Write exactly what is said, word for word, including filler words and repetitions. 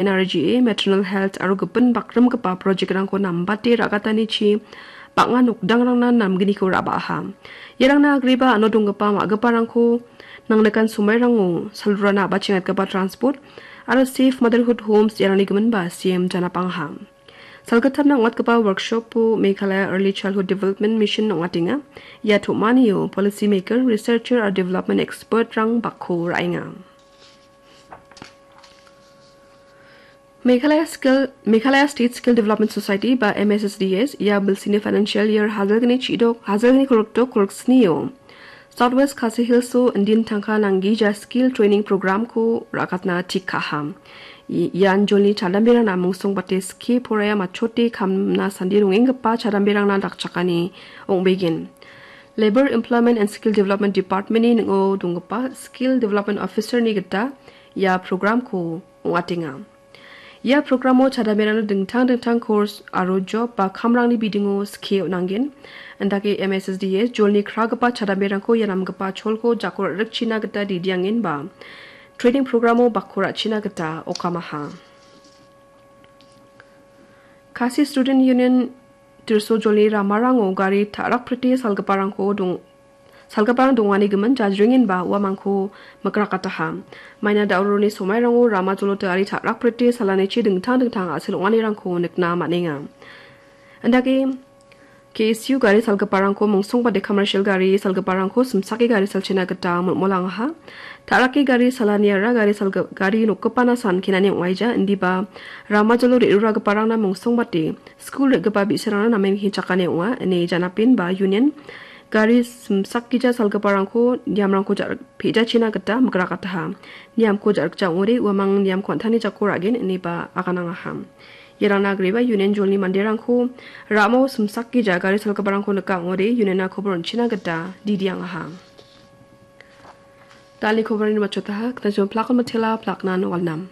N R G A, Maternal Health aro gipin bakrimgipa project-rangko nambate ra·gatanichi bang·a nokdangrangna namgniko ra·baaha. Iarangna agreba ano donggipa ma·giparangko nangnikan somairango salrurana a·bachengatgipa transport aro Safe Motherhood Homes iarangni giminba C M janapangaha. Salgittamna ong·atgipa workshop-o Meghalaya Early Childhood Development Mission ong·atenga. Ia tom·anio policy maker, researcher aro development expert-rang bakko ra·enga. Meghalaya Skill, Meghalaya State Skill Development Society ba M S S D S ia bilsini financial year hajalgni chidok, hajalgni kolokdok koloksnio South West Khasi Hills-o indin tangka nanggija skill training program-ko ra·gatna tik ka·aha. I-, ian jolni chadamberangna mungsongbate skie poraiamatchote kamna sandi rongenggipa chadamberangna dakchakani ong·begen. Labour, Employment and Skill Development Department-ni ning·o donggipa Skill Development Officer-ni gita ia program-ko ong·atenga. Ia programo chadamberangna dingtang dingtang course aro job ba kamrangni bidingo skie on·angen. Indake M S S D S jolni kragipa chadamberangko ia namgipa cholko jako ra·rikchina gita didiangen ba training programo bakko ra·china gita okamaha. Khasi Student Union Tirso jolni ramarango gari ta·rakprite salgiparangko dong-, salgiparang dongani gimin jajringenba uamangko mikrakataha. Maina da·oroni somairango rama jolote gari ta·rakprite salanichi dingtang dingtang a·sel ong·anirangko nikna man·enga. Indake K S U gari salgiparangko mungsongbate commercial gari salgiparangko simsake gari salchina gita molmolangaha. Ta·rake gari salaniara gari salgi-, gari nokgipana san kenani ong·aija, indiba rama jolo re·ruragiparangna mungsongbate skul re·gipa bi·sarangna namen hichakani ong·a, ine janapenba union gari simsakgija salgiparangko niamrangko ja-, pe·jachina gita mikrakataha. Niamko ja·rikja ong·ode uamang niamko an·tangni jako ra·gen ineba aganangaha. Iarangna agreba union jolni manderangko ramo simsakgija gari salgiparangko nika ong·ode union-na kobor on·china gita didiangaha. Dal·ni koborni matchotaha, knajon plakon matela, plaknan walnam.